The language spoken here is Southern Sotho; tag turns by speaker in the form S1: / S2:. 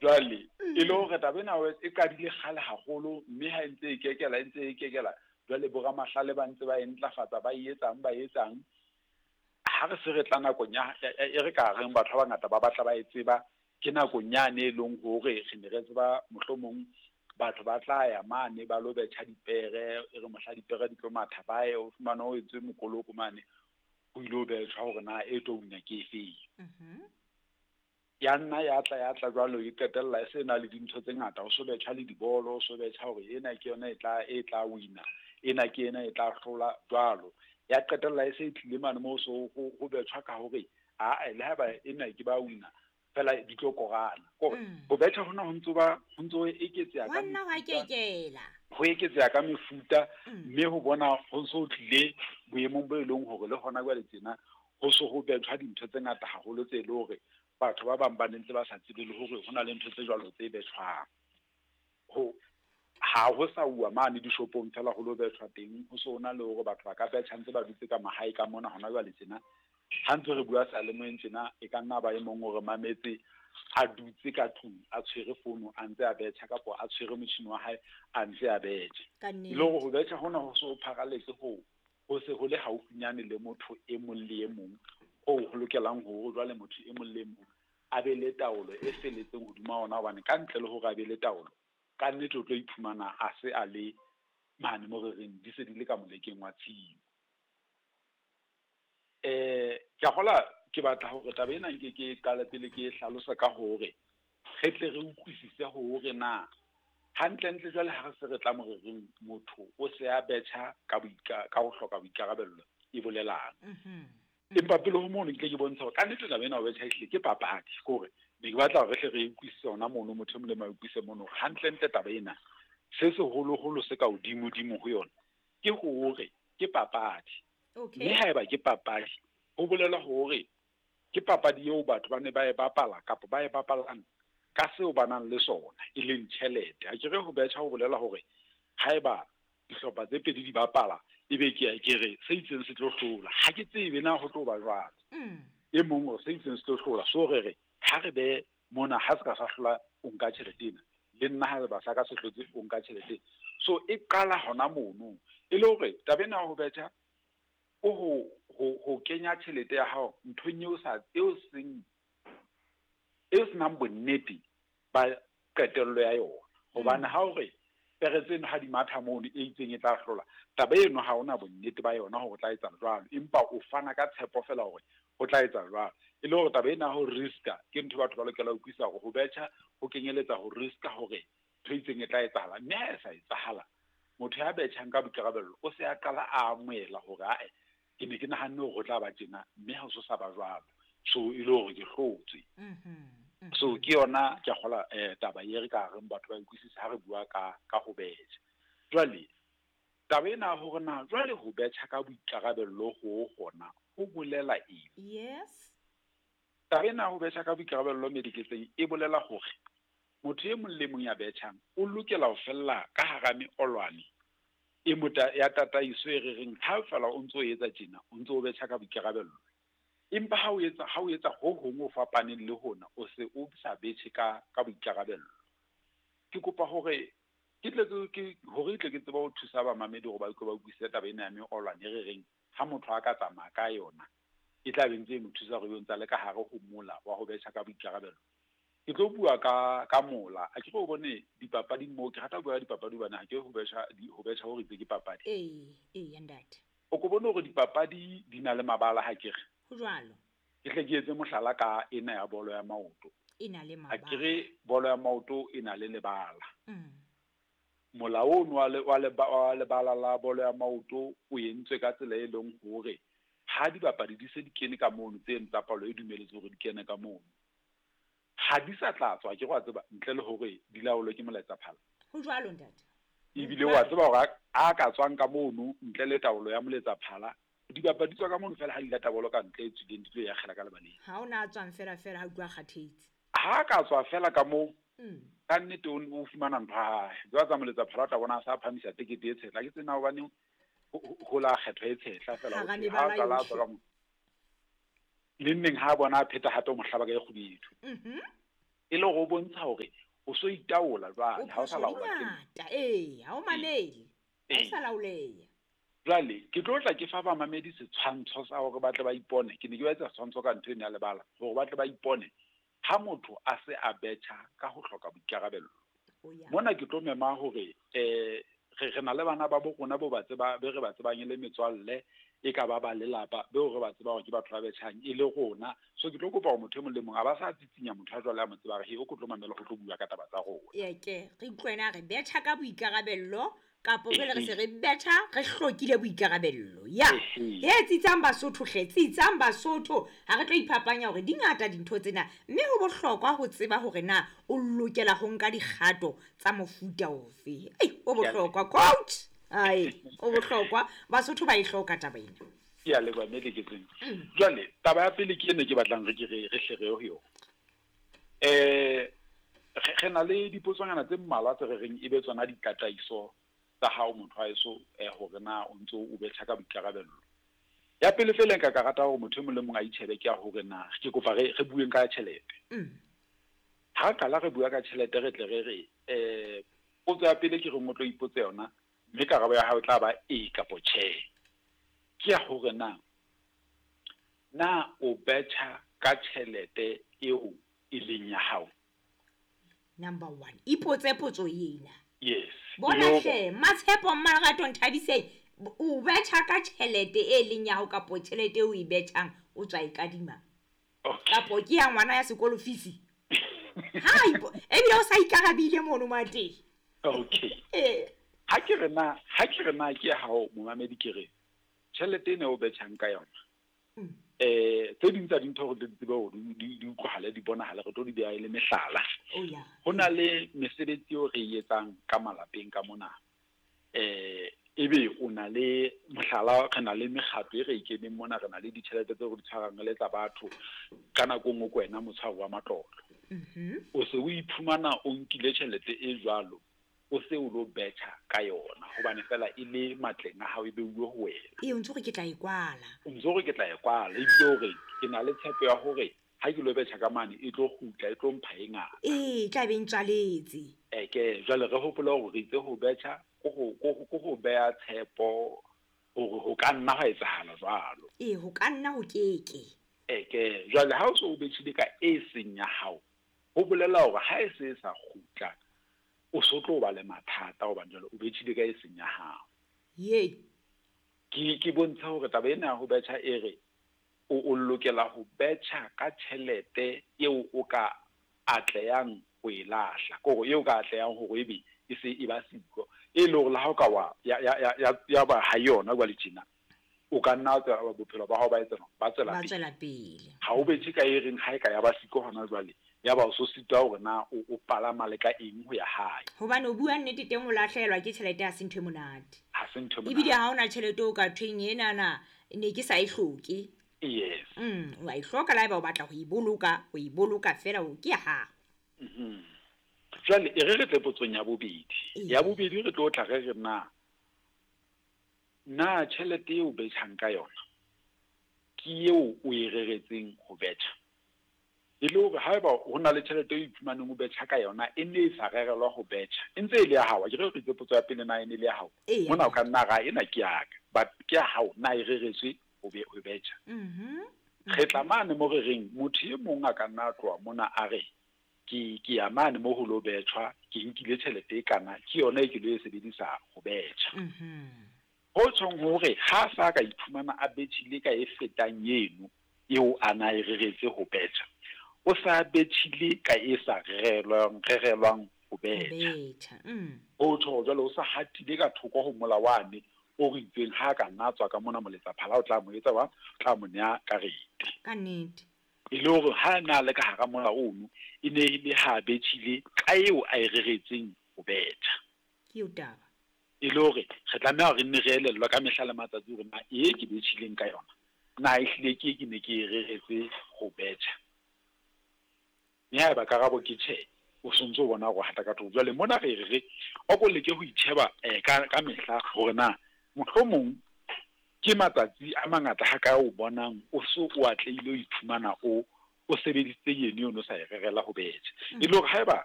S1: Jwale e le hore taba ena e qadile kgale haholo, mme ha e ntse e kekela, e ntse e kekela, jwale boramahlale ba ntse ba e ntlafatsa, ba e etsang, ba etsang. Ha re se re tla nakong ya e re ka reng batho ba bangata ba batla ba e tseba, ke nakong yane e leng hore re ne re tseba mohlomong batho ba tla ya mane ba lo betjha dipere, e re mohla dipere di tlo matha ba ye, o fumane ho entswe mokoloko mane, ho ilo betjhwa hore na e tlo wina ke efeng. Ya nna ya tla ya tla jwalo, e qetella e se na le dintho tse ngata, ho so betjha le dibolo, ho so betjha hore ena ke yona e tla e tla wina, ena ke ena e tla hlola jwalo. Ya qetella e se e tlile mane moo so ho betjhwa ka hore ae le haeba ena ke ba wina fela di tlo korana. Kore ho betjha hona ho ntso ba ho ntso eketseha ka
S2: Hwa nna hwa kekela.
S1: Ho eketseha ka mefuta, mme ho bona ho so tlile boemong bo e leng hore le hona jwale tjena ho so ho betjhwa dintho tse ngata haholo tse e le hore batho ba bang ba ne ntse ba sa tsebe le hore ho na le ntho tse jwalo tse betjhwang. Ho ha ho sa uwa mane dishopong fela ho lo betjhwa teng, ho so na le hore batho ba ka betjha ntse ba dutse ka mahae ka mona hona jwale tjena. Ha ntse re bua seyalemoyeng tjena, e ka nna ba e mong o re mametse a dutse ka tlung a tshwere fono a ntse a betjha, kapa a tshwere motjhini wa hae a ntse a betjha.
S2: Ka
S1: E le hore ho betjha hona ho so pharaletse ho ho se ho le haufinyane le motho e mong le e mong, hoo ho lokelang hore jwale motho e mong le e mong a be le taolo e felletseng hodima ona, hobane ka ntle le hore a be le taolo, ka nnete o tlo iphumana a se a le mane mo re reng di se di le ka molekeng wa tshimo. Ke a kgolwa ke batla hore taba ena nke ke qale pele ke e hlalosa ka hore re tle re utlwisise hore na hantlentle jwale ha re se re tla mo re reng motho o se a betjha ka ka ho hloka boikarabello e bolelang. Empa pele ho mono ke tle ke bontshe hore kannete taba ena ho betjha ehlile ke papadi, ke hore ne ke batla hore re hle re utlwisise hona mono, motho e mong le mang a utlwisise mono hore hantlentle taba ena se seholoholo se ka hodimodimo ho yona ke hore ke papadi. Mme haeba ke papadi, ho bolela hore ke papadi eo batho ba ne ba e bapala kapa ba e bapalang ka seo ba nang le sona, e leng tjhelete. Ha ke re ho betjha ho bolela hore haeba dihlopha tse pedi di bapala, ebe ke ya ke re se itseng se tlo hlola. Ha ke tsebe na ho tlo ba jwalo. E mong hore se itseng se tlo hlola, so re re ha re be mona ha se ka sa hlola o nka tjhelete ena, le nna ha ba sa ka se hlotse o nka tjhelete. So e qala hona mono. E le hore taba ena ya ho betjha ko ho kenya tjhelete ya hao nthong eo sa eo seng eo senang bonnete ba qetello ya yona. Hobane ha o re pere tseno ha di matha mono e itseng e tla hlola, taba eno ha ona bonnete ba yona hore o tla etsa jwalo, empa o fana ka tshepo fela hore ho tla etsa jwalo. E le hore taba ena ho riska ke ntho batho ba lokela ho utlwisisa hore ho betjha ho kenyeletsa ho riska hore ntho e itseng e tla etsahala, mme ha e sa etsahala motho ya betjhang ka boikarabello o se a qala a amohela hore ae ke ne ke nahanne hore ho tla ba tjena, mme ha ho so sa ba jwalo, so e le hore ke hlotswe. So ke yona ke a kgola taba e re ka reng batho ba utlwisise ha re bua ka ho betjha. Jwale taba ena hore na jwale ho betjha ka boikarabello ho hona ho bolela eng?
S2: Yes.
S1: Taba ena ho betjha ka boikarabello mediketseng e bolela hore motho e mong le mong ya betjhang o lokela ho fella ka hara meolwane e mota ya tataiso e re reng ha fela o ntso etsa tjena, o ntso o betjha ka boikarabello. Empa ha o etsa ho hong ho fapaneng le hona, o se o sa betjhe ka boikarabello. Ke kopa hore ke tle ke hore tle ke tsebe ho thusa bamamedi hore ba utlwe ba utlwisise taba ena ya meolwane e re reng ha motho a ka tsamaya ka yona e tla be ntse e mo thusa hore ebe ntse a le ka hare ho mola wa ho betjha ka boikarabello. Ke tlo bua ka mola. A ke re o bone dipapading moo, ke rata ho bua ka dipapadi hobane ha ke ho betjha hore itse ke papadi.
S2: Ee, ntate.
S1: O ko bone hore dipapadi di na le mabala ha ke re.
S2: Ho jwalo.
S1: Ke hle ke etse mohlala ka ena ya bolo ya maoto.
S2: E na le
S1: Ha ke
S2: mabala.
S1: re bolo ya maoto e na le lebala. Mola ono wa lebala la bolo ya maoto o entswe ka tsela e leng hore ha dibapadi di se di kene ka mono, tse tsa palo e dumeletswe hore di kene ka mono, ha di sa tla tswa, ke wa tseba, ntle le hore di laolwe ke molaetsa phala.
S2: Ho jwalo ntate.
S1: Ebile wa tseba hore a ka tswang ka mono ntle le taolo ya moletsa phala, dibapadi tswa ka mono fela ha di lata bolo ka ntle e tswileng di tlo ya kgela ka lebaleng.
S2: Ha ona a tswang fela fela ha utlwa kgathetse.
S1: Ha ka tswa fela ka moo, ka nnete o fumana ntho ya hae. Jwale tsa moletsa phala o tla bona a sa phamisa tekete e tshehla. Ke tsena hobane ho la kgetho e tshehla fela
S2: Hara
S1: ho thwe,
S2: mebala
S1: ha a qala a
S2: yohle.
S1: tswa ka moo. Le nneng ha bona a pheta hape o mo hlaba ka e kgubedu. E le hore o bontsha hore o so itaola
S2: O
S1: jwale, ha o sa
S2: phoso di
S1: laolwa ke
S2: ngata, ee, ha o mamele. Ha o
S1: Ee.
S2: sa laoleha.
S1: Jwale ke tlo tla ke fa bamamedi setshwantsho sa hore ba tle ba ipone. Ke ne ke ba etsa setshwantsho ka ntho eno ya lebala hore ba tle ba ipone ha motho a se a betjha ka ho hloka boikarabello.
S2: O ya.
S1: Mona ke tlo mema hore re na le bana ba bo rona bo ba tseba, be re ba tsebang e le metswalle, e ka ba ba lelapa, beo re ba tsebang hore ke batho ba betjhang e le rona. So ke tlo kopa hore motho e mong le mong a ba sa tsitsinya motho a jwale a mo tseba hore he o ko tlo mamela ho tlo bua ka taba tsa rona.
S2: Ee, ke re utlwe wena re betjha ka boikarabello kapo jwale re se re betjha re hlokile boikarabello. Ya. He tsitsang Basotho hle, tsitsang Basotho. Ha re tlo iphapanya hore di ngata dintho tsena, mme ho bohlokwa ho tseba hore na o lokela ho nka dikgato tsa mofuta ofe. Ei, ho bohlokwa coach. Ai, ho bohlokwa. Basotho ba e hloka taba ena.
S1: Ke a leboha mme Leketseng. Jwale taba ya pele ke ene ke batlang re ke re hle re ye ho yona. Re na le dipotsonyana tse mmalwa tse re reng e be tsona ditataiso tsa hao motho wa heso, hore na o ntso o betjha ka boikarabello. Ya pele feela nka ka rata hore motho e mong le mong a itjhebe ke ya hore na ke kopa re bueng ka tjhelete. Ha re qala re bua ka tjhelete re tle re re potso ya pele ke reng o tlo ipotse yona, mme karabo ya hao e tla ba ee kapo tjhe. Ke ya hore na, na o betjha ka tjhelete eo e leng ya hao?
S2: Number 1, ipotse potso ena.
S1: Yes.
S2: Bona hle, Matshepo Mmalerato Nthabiseng, o betjha ka tjhelete e leng ya hao kapo tjhelete eo o e betjhang o tswa e kadima?
S1: Okay.
S2: Kapo ke ya ngwana ya sekolo fees? Ha ipo, ebile o sa ikarabile mono mateng.
S1: Okay. Ha ke re na, ha ke re na ke ya hao momamedi ke re tjhelete ena o betjhang ka yona. Tse ding tsa dintho hore di tsebe hore di utlwahale, di bonahale, re tlo di beha e le mehlala.
S2: Oh, yeah.
S1: Ho na le mesebetsi eo re e etsang ka malapeng ka mona. Ebe o na le mohlala, re na le mekgatlo e re e keneng mona, re na le ditjhelete tseo re di tshwarang re le tsa batho. Ka nako e nngwe ke wena motshwari wa matlotlo. O se o iphumana o nkile tjhelete e jwalo, o se o lo betjha ka yona hobane fela e le matleng a hao e beuwe ho wena.
S2: Ee, o ntso re ke tla e kwala.
S1: O ntso re ke tla e kwala, ebile hore ke na le tshepo ya hore ha ke lo betjha ka mane e tlo kgutla, e tlo mpha e ngata.
S2: Ee, e tla be e ntswaletse.
S1: Ke jwale re hopole hore re itse ho betjha ko ho beha tshepo hore ho ka nna hwa etsahala jwalo.
S2: Ee, ho ka nna ho keke.
S1: Ke jwale ha o so o betjhile ka e seng ya hao, ho bolela hore ha e se e sa kgutla, o so tlo ba le mathata hobane jwale o betjhile ka e seng ya hao.
S2: Ye.
S1: Ke bontsha hore taba ena ya ho betjha e re o lokela ho betjha ka tjhelete eo o ka atlehang ho e lahla, ke hore eo ka atlehang hore ebe e se e ba siko, e le hore le ha o ka wa, ya, ya, ya, ya, ya ba ha yona jwale tjena, o ka nna wa tswela bophelo ba hao ba etsa jwang? Ba tswela
S2: Ba
S1: pele.
S2: tswela pele.
S1: Ha o betjhe ka e reng ha e ka ya ba siko hona jwale, ya ba o so sitwa hore na o palama le ka eng ho ya hae.
S2: Hobane o bua nnete teng o lahlehelwa ke tjhelete ha se ntho e monate.
S1: Ha se ntho e
S2: Ebile
S1: monate.
S2: ha hona tjhelete o ka thweng enana ne ke sa e hloke.
S1: Yes.
S2: O a e hloka le haeba o batla ho e boloka, o e boloka fela o ke ya hao.
S1: Jwale e re re tle potsong ya bobedi.
S2: Ee.
S1: Ya bobedi re tlo tla re re na tjhelete eo o betjhang ka yona ke eo o e reretseng ho betjha? E le hore haeba ho na le tjhelete eo o iphumaneng o betjha ka yona e ne e sa rerelwa ho betjha, e ntse e le ya hao. Akere re itse potso ya pele na e ne e le ya hao?
S2: Ee.
S1: Mona o ka nna ra ena ke ya ka, but ke ya hao, na e reretswe ho betjha? Re tla mane mo re reng motho e mong a ka nna a tloha mona a re ke ya mane mo ho lo betjhwa, ke nkile tjhelete e kana, ke yona e ke lo e sebedisa ho betjha. Ho tjhong hore ha sa ka iphumana a betjhile ka e fetang eno eo a na e reretse ho betjha, o sa betjhile ka e sa rerelwang ho betjha.
S2: Betjha.
S1: Ho tjho hore jwale o sa hatile ka thoko ho mola wane o re itseng ha ka nna tswa ka mona moletsaphala o tla mo etsa wa, o tla mo nea karete.
S2: Ka nnete.
S1: E le hore ha na le ka hara mola ono, e ne e le ha betjhile ka eo a e reretseng ho betjha.
S2: Ke eo taba.
S1: E le hore re tlameha hore re nne re elellwe ka mehla le matsatsi hore na e ke betjhileng ka yona, na ehlile ke e ke ne ke e reretse ho betjha. Mme haeba karabo ke tjhe, o sontso o bona hore o hata ka thoko. Jwale mona re re o ko leke ho itjheba ka mehla hore na mohlomong ke matsatsi a mangata ha kae o bonang o so o atlehile o iphumana o O sebedisitse yene o no sa e rerela ho betjha. E le hore haeba